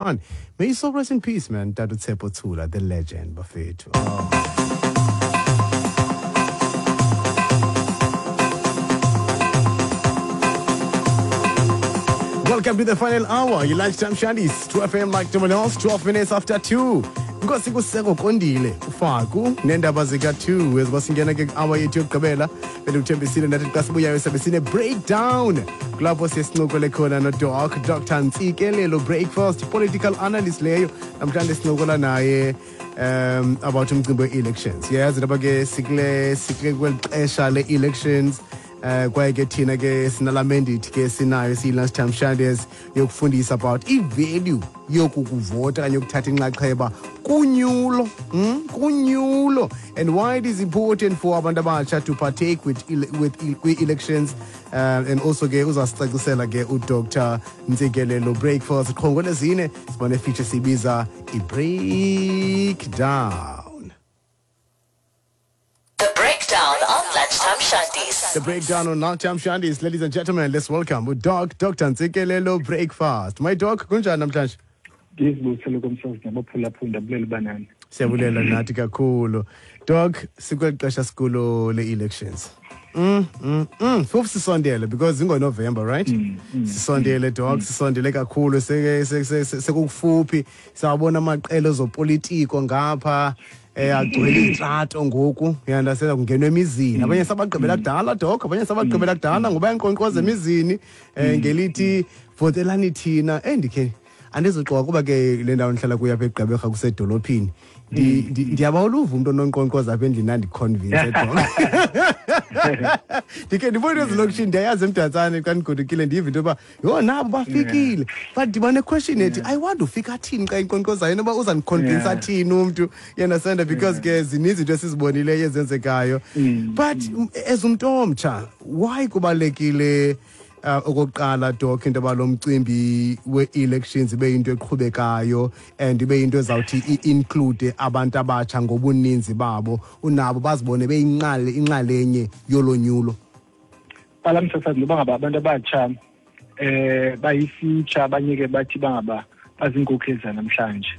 On. May you so rest in peace, man. Tata Tsepo Tsula, the legend, bafethu. Oh. Welcome to the final hour. Your lunchtime shandies, 2 FM like no one else, 12 minutes after 2. Nkosi kuseko kondile ufaku nendaba zika-2 eziba singena ke hour yethu yokugqibela. Bendikuthembisile ndathi xa sibuyayo sabe sine-breakdown, kulapho siye sincokole khona noDoc Dr Ntsikelelo Breakfast, political analyst leyo. Namhlanje sincokola naye about umcimbi we-elections. Yayazi into ke sikule kweli xesha le-elections, kwaye ke thina ke sinala mandate ke sinayo siyi-Lunchtime Shandies yokufundisa about i-value yokukuvota okanye yokuthatha inxaxheba kunyulo, kunyulo, and why it is important for abantu abatsha to partake with kwi-elections, and also ke uzasicacisela ke uDr Ntsikelelo Breakfast. Qho ngolwezine siba ne-feature siyibiza i-breakdown. The Breakdown on Lunchtime Shandies. The Breakdown on Lunchtime Shandies. Ladies and gentlemen, let's welcome Doc Dr. Ntsikelelo Breakfast. My doc, kunjani namhlanje? Ndizibusele komsazi nabaphulaphula, ndibulela banani. Siyabulela nathi kakhulu. Doc, sikweli xesha sikulo le-elections. Futhi sisondele because ingoNovember, right? Sisondele, doc, sisondele kakhulu, sekukufuphi. Sawabona amaqela ezopolitiko ngapha agcwele iintrato ngoku, uyandasela, kungenwa emizini. Abanye sabagqibela kudala, doc, abanye sabagqibela kudala ngoba bayanqonqoza emizini ngelithi votelani thina. Ndikhe andizoxoka kuba ke le ndawo ndihlala kuyo apha eGqeberha kusedolophini. Ndiyabawela uva umntu ononkqonkqoza apha endlini andiconvince, doc. Ndikhe ndibone ezilokishini, ndiyayazi eMdantsane xa ndigodukile ndive into yoba yho nabo bafikile, but ndiba ne-question ethi I wonder ufika athini xa inkqonkqozayo, inoba uzandiconvince athini umntu, you understand, because ke zininzi into esizibonileyo ezenzekayo. But as umntu omtsha, why kubalulekile okokuqala, doc, into yoba lo mcimbi we-elections ibe yinto eqhubekayo and ibe yinto ezawuthi i-include abantu abatsha ngobuninzi babo, unabo bazibone beyinxalenye inxalenye yolonyulo? Bala msasazi, noba ngaba abantu abatsha bayi-future, abanye ke bathi bangaba baziinkokheli zanamhlanje.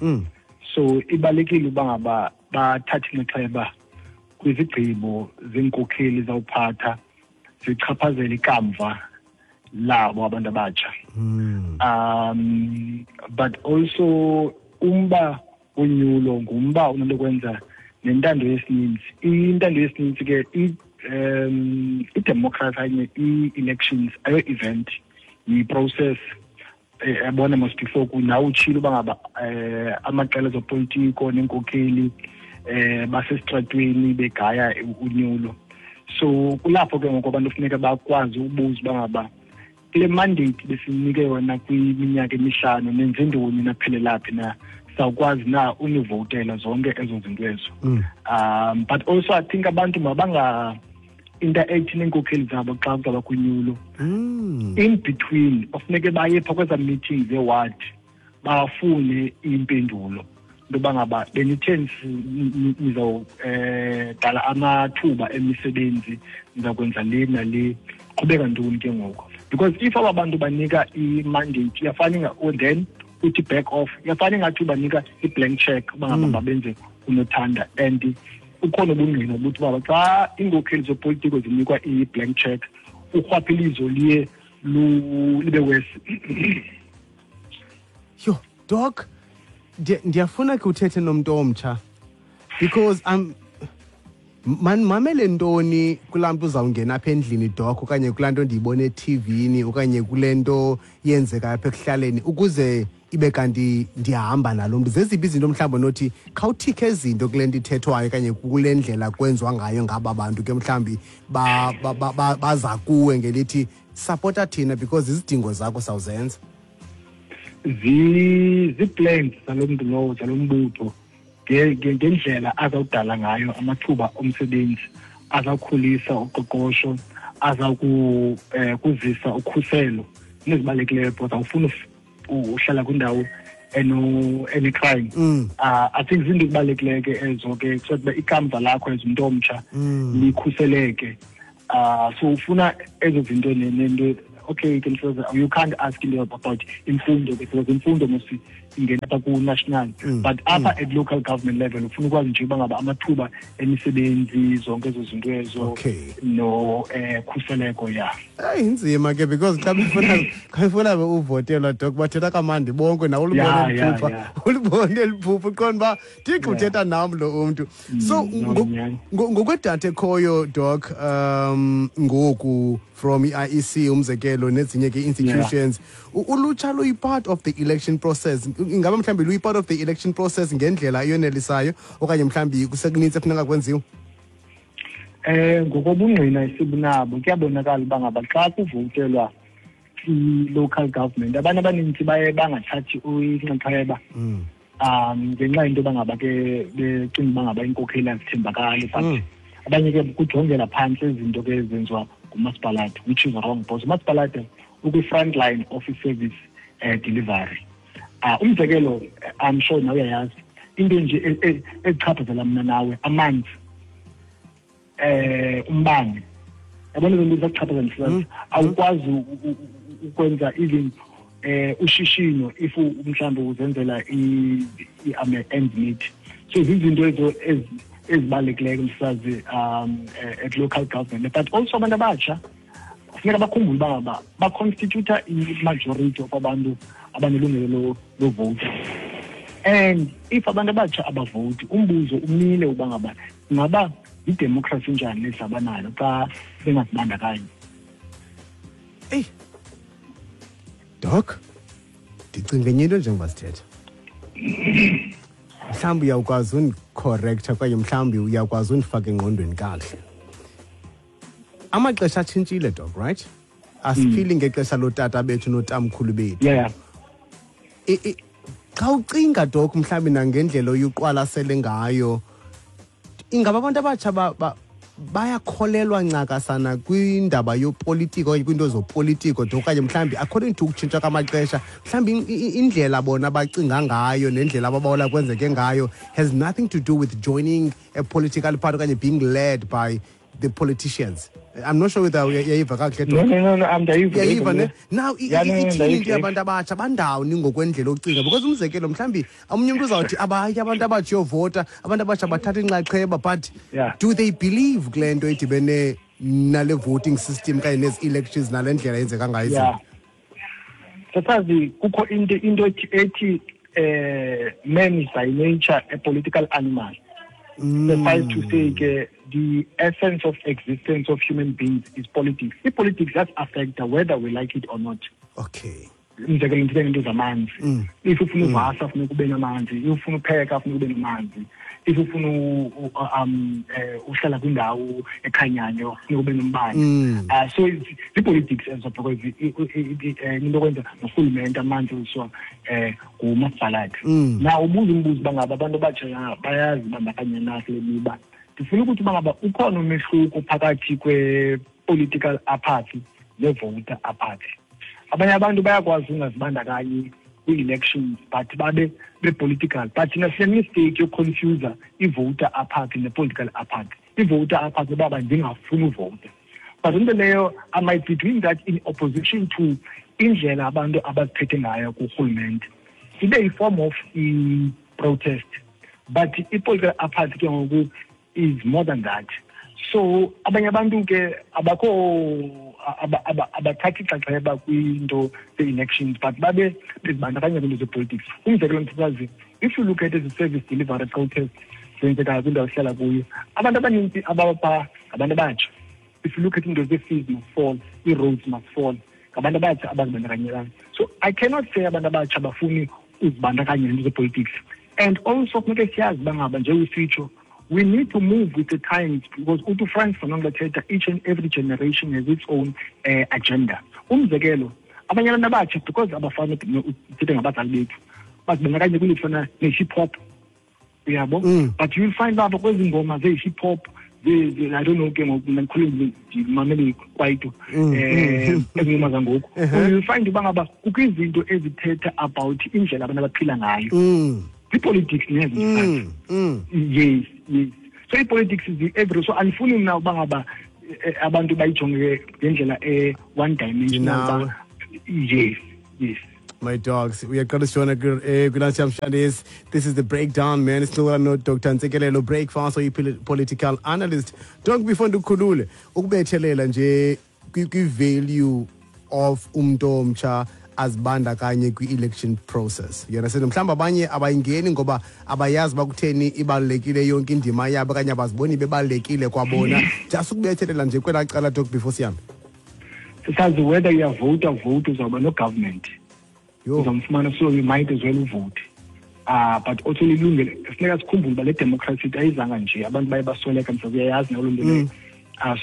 So ibalulekile uba ngaba bathathe inxaxheba kwizigqibo zeenkokheli zawuphatha zichaphazela ikamva labo abantu abatsha. But also umba wonyulo ngumba onento kwenza nentando yesininzi. Intando yesininzi ke, i-democracy okanye i-elections ayo event, yi-process. Yabona mos before nawe utshilo uba ngaba amaqela ezopolitiko neenkokheli basesitratweni begaya unyulo. So kulapho ke ngoku abantu funeka bakwazi ubuza uba ngaba kule mandate besinike yona kwiminyaka emihlanu nenze ntoni, naphelela phi na, sawukwazi na univotela zonke ezo zinto ezo. But also I think abantu mabanga interact neenkokheli zabo xa kuzawuba kunyulo. In between ofuneke baye phaa kwezaa meetings zeward bafune iimpendulo into yoba ngaba benithe nizawudala amathuba emisebenzi, nizawukwenza le nale, qhubeka ntoni ke ngoku? Because if aba bantu banika i-mandate iyafana then uthi back off, iyafana ingathi ubanika i-blank check uba ngaba babenze unothanda. And ukhona ubungqina ukuthi uba xa iinkokheli zopolitiko zinikwa i-blank check, urhwaphilizo liye libe worse. Yho, doc, ndiyafuna ke uthethe nomntu omtsha because I'm man mamele ntoni kulaa mntu uzawungena apha endlini, doc, okanye kulaa nto ndiyibona ethivini okanye kule nto yenzekayo apha ekuhlaleni ukuze ibe kanti ndiyahamba nalo mntu? Zeziphi izinto mhlawumbi onothi khawuthikhe izinto kule nto ithethwayo okanye kule ndlela kwenziwa ngayo ngaba bantu ke mhlawumbi baza kuwe ngelithi sapota thina because izidingo zakho sawuzenza? Zii-plans zalo mntu lowo, zalo mbutho, ngendlela azawudala ngayo amathuba omsebenzi, azawukhulisa uqoqosho, kuzisa ukhuselo nezibalulekileyo, because awufuni uhlala kwindawo ene-crime. I think zinto ezibalulekileyo ke ezo ke, so that ikamva lakho as umntu omtsha likhuseleke. So ufuna ezo zinto nento. Okay, you can say you can't ask into about imfundo because imfundo must Ingena apha ku-national, but apha at local government level ufuna ukwazi nje uba ngaba amathuba emisebenzi, zonke ezo zinto ezo, no khuseleko, ya. Hayi, inzima ke, because xa befuna uvotelwa, Doc, bathetha kamandi bonke nawe ulibone eliphupha, ulibone eliphupha, uqonda uba Thixo uthetha nam lo umntu. So No, nyhani. Ngokwedatha ekhoyo, Doc, ngoku from i-IEC, umzekelo, nezinye ke institutions, ulutsha luyi-part of the election process? Ingaba mhlawumbi luyi-part of the election process ngendlela eyonelisayo, okanye mhlawumbi kusekunintsi efuneka kwenziwe? Ngokobungqina esibunabo, kuyabonakala uba ngaba xa kuvotelwa i-local government, abantu abaninzi baye bangathathi inxaxheba ngenxa yento yoba ngaba ke becinga uba ngaba iinkokheli azithembakali, but abanye ke kujongela phantsi izinto ke ezenziwa ngumasipalati, which is wrong, because umasipalati ukwi-front line of i-service delivery. Umzekelo, I'm sure nawe uyayazi into nje ezichaphazela mna nawe, amanzi, umbane, yabona, izinto zakuchaphazela mhlawumbi awukwazi ukwenza even ushishino if mhlawumbi uzenzela i-ends meet. So zizinto ezo ezibalulekileyo, msazi, at local government. But also abantu abatsha kufuneka bakhumbule uba ngaba baconstituta i-majority of abantu abanelungelo lovota, and if abantu abatsha abavoti, umbuzo umile uba ngaba ingaba yidemokhrasi njani lesaba nayo xa bengazibandakanyi? Eyi Doc, ndicinga enye into njengoba sithetha. Mhlawumbi uyawukwazi undicorrecta okanye mhlawumbi uyakwazi undifaka engqondweni kakuhle. Amaxesha atshintshile, Doc, right? Asiphili ngexesha lootata bethu nootamkhulu bethu. Xa ucinga, Doc, mhlawumbi nangendlela oyuqwalasele ngayo, ingaba abantu abatsha bayakholelwa ncakasana kwindaba yopolitiko okanye kwiinto zopolitiko, Doc, okanye mhlawumbi according to ukutshintsha kwamaxesha, mhlawumbi indlela bona abacinga ngayo nendlela ababawela kwenzeke ngayo has nothing to do with joining a political party okanye being led by the politicians? I'm not sure whether uyayiva kakuhle, No. Doc. No, ndayiva. Uyayiva ne? Now Yeah, no, ithini into ndayiva. yabantu abatsha bandawoni ngokwendlela ocinga? Because umzekelo, mhlawumbi omnye umntu uzawuthi abayi abantu abatsha uyovota, abantu abatsha bathatha inxaxheba, but do they believe kule nto idibene nale voting system kanye nezi elections, nale ndlela yenzeka ngayo izinto? Yeah, sasazi kukho into ethi man is by nature a political animal. Suffice to say ke, the essence of existence of human beings is politics. I-politics does affect whether we like it or not. Umzekelo, ndithethe ngento zamanzi. If ufuna uvasa, funeka ube namanzi. If ufuna upheka, funeka ube namanzi. If ufuna uhlala kwindawo ekhanyayo, funeka ube nombane. So zii-politics ezo, because into okwenza norhulumente, amanzi eziswa ngumasipalati. Now ubuza umbuzo uba ngaba abantu abatsha bayazibandakanya na kule miba. Ndifuna ukuthi uba ngaba ukhona umehluko phakathi kwe-political apathy ne-voter apathy. Abanye abantu bayakwazi ungazibandakanyi kwii-elections but babe be-political, but thina sine-mistake yokuconfusa i-voter apathy ne-political apathy. I-voter apathy baba ndingafuni uvota, but into leyo I might be doing that in opposition to indlela abantu abaziphethe ngayo kurhulumente, ibe yi-form of i-protest. But i-political apathy ke ngoku is more than that. So abanye abantu ke abakho abathathi ixaxheba kwinto ze-elections, but babe bezibandakanya kwinto zepolitics. Umzekelo, msasazi, if you look at ezi service delivery protest zenzekayo kwindawo esihlala kuyo, abantu abanintsi abapha ngabantu abatsha. If you look at into zee-fees must fall, ii-roads must fall, ngabantu abatsha abazibandakanyelayo. So I cannot say abantu abatsha bafuni uzibandakanya nento zepolitics. And also funeke siyazi uba ngaba, njengousitsho, we need to move with the times, because uthi uFrantz Fanon lethetha, each and every generation has its own agenda. Umzekelo, abanye abantu abatsha, because abafani uthethe ngabazali bethu, bazibandakanye kwinto efana ne-hip hop, uyabo? But you'll find apha kwezi ngoma ze-hip hop, I don't know ke ngoku, mna ndikhule ndimamele kwaito, ezi ngoma zangoku, you'll find uba ngaba kukho izinto ezithetha about indlela abantu abaphila ngayo. Zii-politics nezo. Yes, so i-politics is every, so andifuni mna uba ngaba abantu bayijonge ngendlela e-one dimensional. Ndinawe. Yes. My dogs, uyaqala sijona kwi-Lunchtime Shandies. This is the breakdown, man. Sincokola no-Dr Ntsikelelo Breakfast, oyi-political analyst. Doc, before ndikukhulule, ukubethelela nje kwi-value of umntu omtsha azibandakanye kwi-election process. You understand? Mhlawumbi abanye abayingeni ngoba abayazi uba kutheni ibalulekile yonke indima yabo, okanye abaziboni bebalulekile kwabona. Just ukubethelela nje kwelaa cala, Doc, before sihambe. Sisazi whether uyavota, vote, uzawuba no-government. Yho. Uzamfumana, so you might as well uvote. But also lilungelo, funeka sikhumbule uba le democracy ayizanga nje, abantu baye basweleka, mhlawumbi uyayazi nawe loo nto leyo.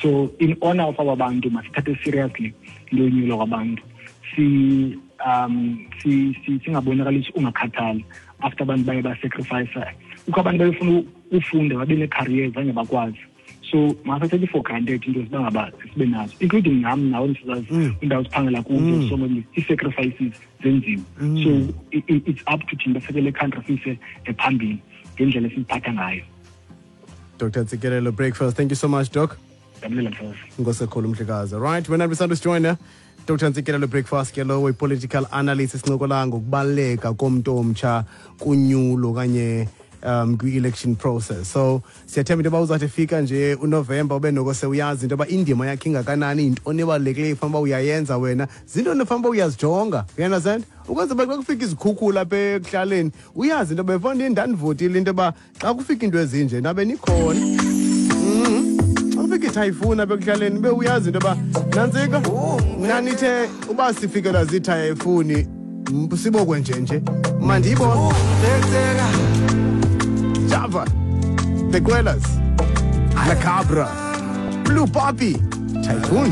So in honor of our bantu, masithathe seriously into yonyulwa kwabantu. Singabonakalisi ungakhathali after abantu baye basacrifice. Kukho abantu bayefuna ufunda babe nee-careers zange bakwazi. So masathathe for granted into ziba ngaba sibe nazo, including nam nawe msizazi, indawo siphangela kuzo, so many ii-sacrifices zenziwe. So it's up to thina baseke le country siyise phambili ngendlela esiziphatha ngayo. Dr. Ntsikelelo Breakfast, thank you so much, Doc. Ndiyabulela, msazi. Nkosekhulu, mhlekazi. Right, wena besanda usijoyina, Dr Ntsikelelo Breakfast ke lowo, i-political analyst. Sincokola ngokubaluleka komntu omtsha kunyulo okanye kwi-election process. So siyathemba into yoba uzawuthi efika nje uNovemba ube noko sewuyazi into yoba indima yakhe ingakanani, yintoni ebalulekileyo ifanele uba uyayenza wena, zintoni efanele uba uyazijonga, you understand, ukwenzela uba xa kufika izikhukhula apha ekuhlaleni uyazi into yoba efondini ndandivotile, into yoba xa kufika into ezinje nabe nikhona. Xa kufika ithayifuni apha ekuhlaleni ube uyazi into yoba nantsika nanithe uba sifikelwa ziithayifuni sibokwe nje nje mandiyibone. Java, The Quellas, La Cabra, Blue Poppy, Typhoon.